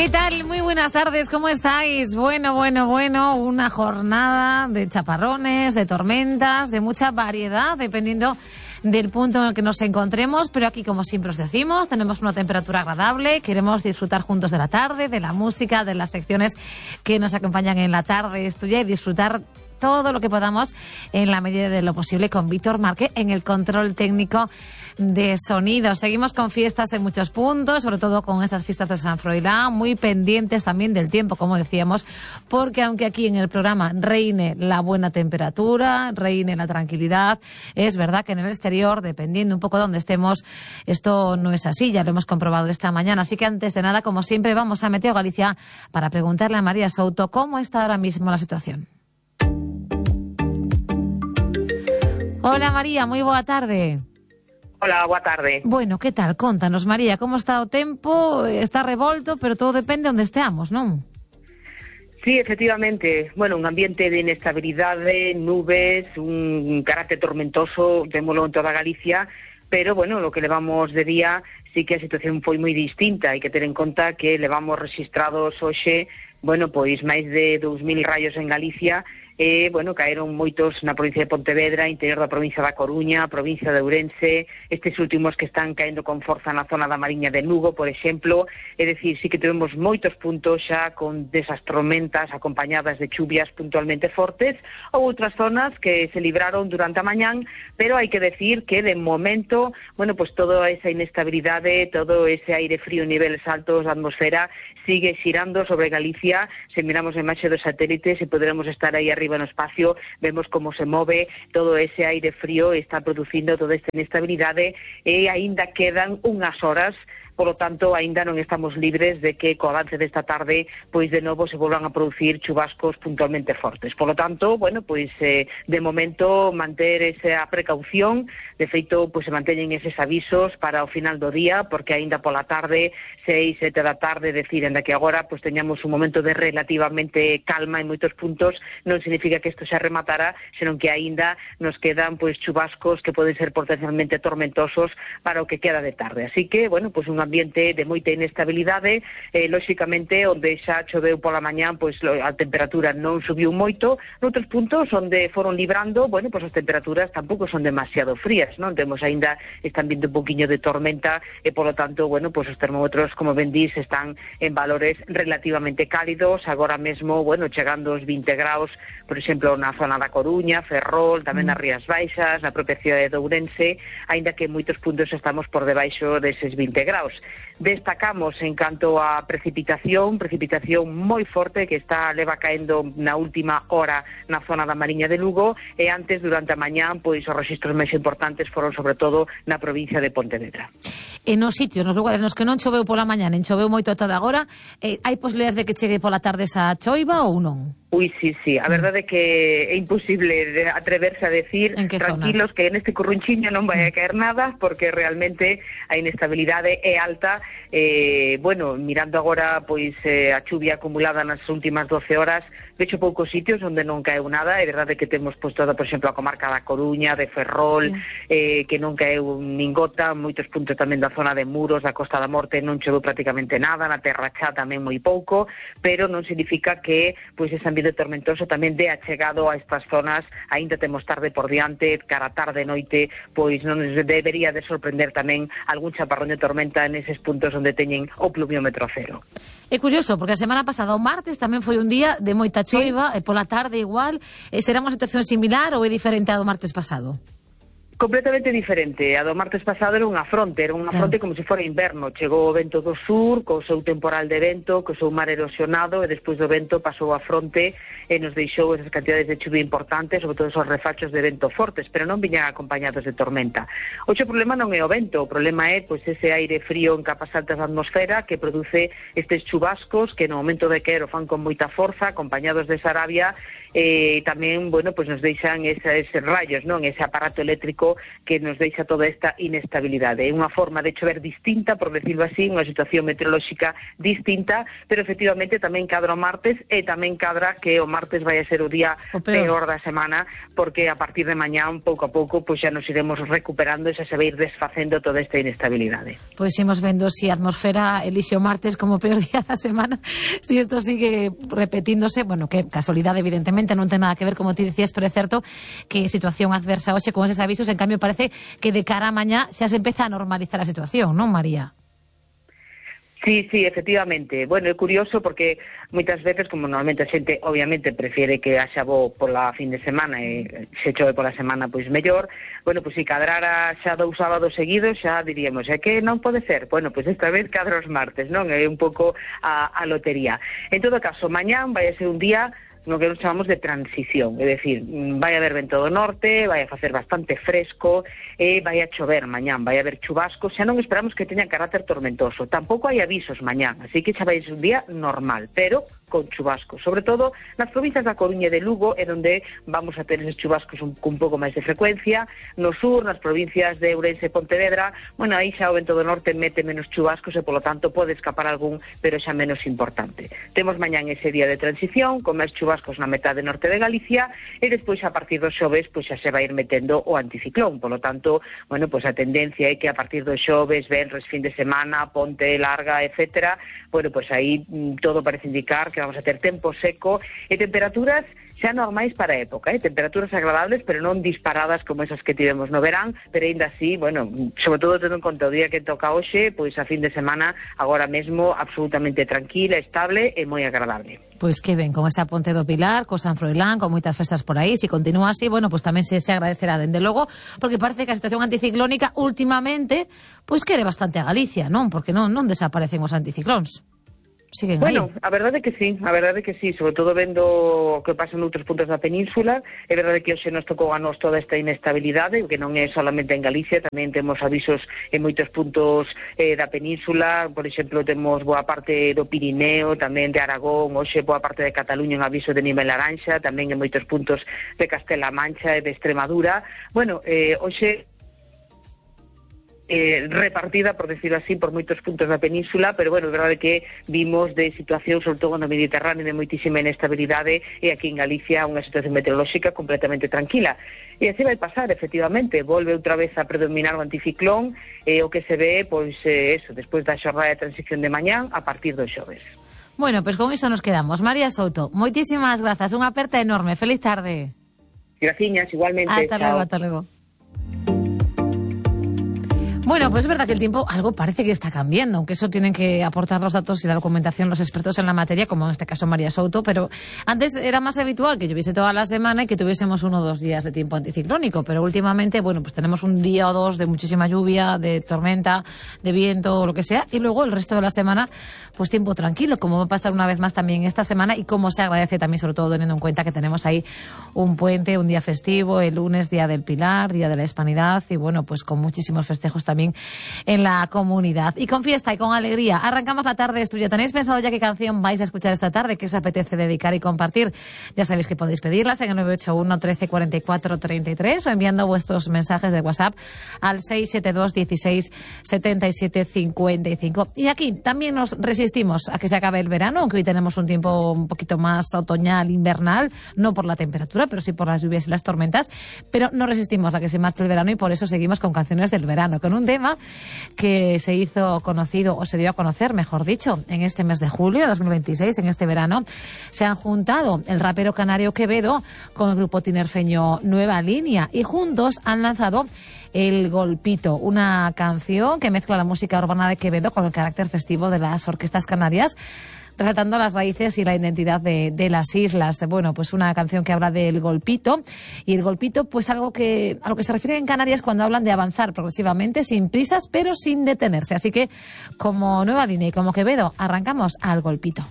¿Qué tal? Muy buenas tardes, ¿cómo estáis? Bueno, una jornada de chaparrones, de tormentas, de mucha variedad, dependiendo del punto en el que nos encontremos, pero aquí, como siempre os decimos, tenemos una temperatura agradable, queremos disfrutar juntos de la tarde, de la música, de las secciones que nos acompañan en la tarde estudia y disfrutar todo lo que podamos en la medida de lo posible con Víctor Márquez en el control técnico de sonido. Seguimos con fiestas en muchos puntos, sobre todo con estas fiestas de San Froilán, muy pendientes también del tiempo, como decíamos, porque aunque aquí en el programa reine la buena temperatura, reine la tranquilidad, es verdad que en el exterior, dependiendo un poco de dónde estemos, esto no es así, ya lo hemos comprobado esta mañana. Así que antes de nada, como siempre, vamos a Meteo Galicia para preguntarle a María Souto cómo está ahora mismo la situación. Hola María, moi boa tarde. Hola, boa tarde. Bueno, que tal? Contanos, María, como está o tempo? Está revolto, pero todo depende onde esteamos, non? Sí, efectivamente. Bueno, un ambiente de inestabilidade, nubes, un carácter tormentoso, témolo en toda Galicia, pero, bueno, lo que levamos de día sí que a situación foi moi distinta. Hai que ter en conta que levamos registrados hoxe, bueno, pois máis de 2.000 raios en Galicia. Bueno, caeron moitos na provincia de Pontevedra, interior da provincia da Coruña, provincia de Ourense, estes últimos que están caendo con forza na zona da Mariña de Lugo, por exemplo. É dicir, sí que tivemos moitos puntos xa con desas tormentas acompañadas de chuvias puntualmente fortes, ou outras zonas que se libraron durante a mañán, pero hai que decir que de momento, bueno, pues toda esa inestabilidade, todo ese aire frío en niveles altos da atmosfera sigue xirando sobre Galicia. Se miramos a imaxe dos satélites e poderemos estar aí arriba no espacio, vemos como se move todo ese aire frío, está producindo toda esta inestabilidade e aínda quedan unhas horas. Por lo tanto, aínda non estamos libres de que co avance desta tarde, pois de novo se volvan a producir chubascos puntualmente fortes. Por lo tanto, bueno, pois de momento manter esa precaución. De feito, pois se manteñen eses avisos para o final do día, porque aínda pola tarde, 6, 7 da tarde, decir, enda que agora pois teñamos un momento de relativamente calma en moitos puntos, non significa que isto se rematara, senón que aínda nos quedan pois chubascos que poden ser potencialmente tormentosos para o que queda de tarde. Así que, bueno, pois un ambiente de moita inestabilidade, lóxicamente, onde xa choveu pola mañán, pois a temperatura non subiu moito. Noutros puntos onde foron librando, bueno, pois as temperaturas tampouco son demasiado frías, non? Temos aínda, están vindo un poquinho de tormenta e, polo tanto, bueno, pois os termómetros, como ben dís, están en valores relativamente cálidos, agora mesmo, bueno, chegando aos 20 graus, por exemplo, na zona da Coruña, Ferrol, tamén nas Rías Baixas, na propia cidade de Ourense, aínda que en moitos puntos estamos por debaixo deses 20 graus. Destacamos en canto a precipitación moi forte que leva caendo na última hora na zona da Mariña de Lugo e antes, durante a mañán, pois os rexistros máis importantes foron sobre todo na provincia de Pontevedra. En os sitios, nos lugares nos que non choveu pola mañán, en choveu moito toda agora, hai posibilidades de que chegue pola tarde esa choiva ou non? Ui, sí. A verdade é que é imposible atreverse a decir tranquilos zonas? Que neste currunchiño non vai a caer nada, porque realmente a inestabilidade é alta. Bueno, mirando agora pois a chuvia acumulada nas últimas 12 horas, vexo poucos sitios onde non caeu nada. É verdade que temos pois toda, por exemplo, a comarca da Coruña, de Ferrol, sí. Que non caeu nin gota, moitos puntos tamén da zona de Muros, da Costa da Morte, non choveu prácticamente nada, na Terra Chá tamén moi pouco, pero non significa que pois ese ambiente tormentoso tamén de achegado a estas zonas. Aínda temos tarde por diante, cara tarde noite, pois non nos debería de sorprender tamén algún chaparrón de tormenta neses puntos onde teñen o pluviómetro cero. É curioso, porque a semana pasada, o martes, tamén foi un día de moita choiva, e pola tarde igual. Será unha situación similar ou é diferente a do martes pasado? Completamente diferente. A do martes pasado era unha fronte como se fora inverno. Chegou o vento do sur, co seu temporal de vento, co seu mar erosionado, e despois do vento pasou a fronte e nos deixou esas cantidades de chuvia importantes, sobre todo esos refachos de vento fortes, pero non viñan acompañados de tormenta. Hoxe o problema non é o vento, o problema é pois ese aire frío en capas altas da atmosfera que produce estes chubascos que no momento de caer o fan con moita forza, acompañados de Sarabia, e tamén, bueno, pois nos deixan eses rayos, non? Ese aparato eléctrico meteorolóxico que nos deixa toda esta inestabilidade. É unha forma de chover distinta, por decirlo así, unha situación meteorolóxica distinta, pero efectivamente tamén cadra o martes e tamén cadra que o martes vai a ser o día peor da semana, porque a partir de mañán, pouco a pouco, pois xa nos iremos recuperando e xa se vai ir desfacendo toda esta inestabilidade. Pois imos vendo se a atmosfera elixe o martes como peor día da semana, se isto sigue repetíndose, bueno, que casualidade evidentemente non ten nada que ver, como ti dicías, pero é certo que situación adversa hoxe con eses avisos, en cambio parece que de cara a mañá xa se empeza a normalizar a situación, non, María? Sí, efectivamente. Bueno, é curioso porque moitas veces, como normalmente a xente obviamente prefiere que haxa bo pola fin de semana e se chove pola semana pois mellor, bueno, pois se cadrara xa 2 sábados seguidos xa diríamos, é que non pode ser. Bueno, pois esta vez cadra os martes, non? É un pouco a lotería. En todo caso, mañán vai a ser un día no que nos chamamos de transición, é dicir, vai haber vento do norte, vai a facer bastante fresco e vai a chover mañán, vai a haber chubascos, xa non esperamos que teñan carácter tormentoso, tampouco hai avisos mañán, así que xa vai ser un día normal, pero con chubascos, sobre todo nas provincias da Coruña e de Lugo, é onde vamos a ter eses chubascos un pouco máis de frecuencia, no sur, nas provincias de Ourense e Pontevedra, bueno, aí xa o vento do norte mete menos chubascos e, polo tanto, pode escapar algún, pero xa menos importante. Temos mañán ese día de transición, con máis chubascos na metade norte de Galicia, e despois, a partir dos xoves, pois xa se vai ir metendo o anticiclón, polo tanto, bueno, pois a tendencia é que a partir dos xoves, venres, fin de semana, ponte larga, etcétera, bueno, pois aí todo parece indicar que vamos a ter tempo seco e temperaturas xa normais para a época, temperaturas agradables, pero non disparadas como esas que tivemos no verán, pero ainda así, bueno, sobre todo tendo en conta o día que toca hoxe, pois a fin de semana agora mesmo absolutamente tranquila, estable e moi agradable. Pois que ben, con esa Ponte do Pilar, co San Froilán, con moitas festas por aí, se continúa así, bueno, pois tamén se agradecerá, dende logo, porque parece que a situación anticiclónica últimamente, pois quere bastante a Galicia, non? Porque non desaparecen os anticiclóns. Siguen bueno, aí. A verdade que sí, sobre todo vendo o que pasa noutros puntos da península. É verdade que hoxe nos tocou a nos toda esta inestabilidade, que non é solamente en Galicia, tamén temos avisos en moitos puntos da península, por exemplo, temos boa parte do Pirineo, tamén de Aragón, hoxe boa parte de Cataluña en aviso de nivel laranxa, tamén en moitos puntos de Castela Mancha e de Extremadura. Bueno, hoxe repartida, por decirlo así, por moitos puntos da península, pero bueno, é verdade que vimos de situación, sobre todo no Mediterráneo, de moitísima inestabilidade, e aquí en Galicia unha situación meteorolóxica completamente tranquila. E así vai pasar, efectivamente, volve outra vez a predominar o anticiclón, o que se ve, pois, eso, despois da xornada de transición de mañán, a partir dos xoves. Bueno, pois con iso nos quedamos. María Souto, moitísimas grazas, unha aperta enorme, feliz tarde. Graciñas, igualmente. Hasta luego. Bueno, pues es verdad que el tiempo algo parece que está cambiando, aunque eso tienen que aportar los datos y la documentación los expertos en la materia, como en este caso María Souto, pero antes era más habitual que lloviese toda la semana y que tuviésemos 1 o 2 días de tiempo anticiclónico, pero últimamente, bueno, pues tenemos un día o dos de muchísima lluvia, de tormenta, de viento o lo que sea, y luego el resto de la semana, pues tiempo tranquilo, como va a pasar una vez más también esta semana, y como se agradece también, sobre todo teniendo en cuenta que tenemos ahí un puente, un día festivo, el lunes, Día del Pilar, Día de la Hispanidad, y bueno, pues con muchísimos festejos también en la comunidad. Y con fiesta y con alegría arrancamos la tarde estudio. ¿Tenéis pensado ya qué canción vais a escuchar esta tarde? ¿Qué os apetece dedicar y compartir? Ya sabéis que podéis pedirlas en el 981 13 44 33 o enviando vuestros mensajes de WhatsApp al 672 16 77 55. Y aquí también nos resistimos a que se acabe el verano, aunque hoy tenemos un tiempo un poquito más otoñal, invernal, no por la temperatura, pero sí por las lluvias y las tormentas, pero no resistimos a que se marche el verano y por eso seguimos con canciones del verano, con un tema que se hizo conocido, o se dio a conocer, mejor dicho, en este mes de julio de 2026, en este verano. Se han juntado el rapero canario Quevedo con el grupo tinerfeño Nueva Línea y juntos han lanzado El Golpito, una canción que mezcla la música urbana de Quevedo con el carácter festivo de las orquestas canarias, resaltando las raíces y la identidad de las islas. Bueno, pues una canción que habla del golpito, y el golpito, pues algo que a lo que se refiere en Canarias cuando hablan de avanzar progresivamente, sin prisas, pero sin detenerse. Así que, como Nueva Línea y como Quevedo, arrancamos al golpito.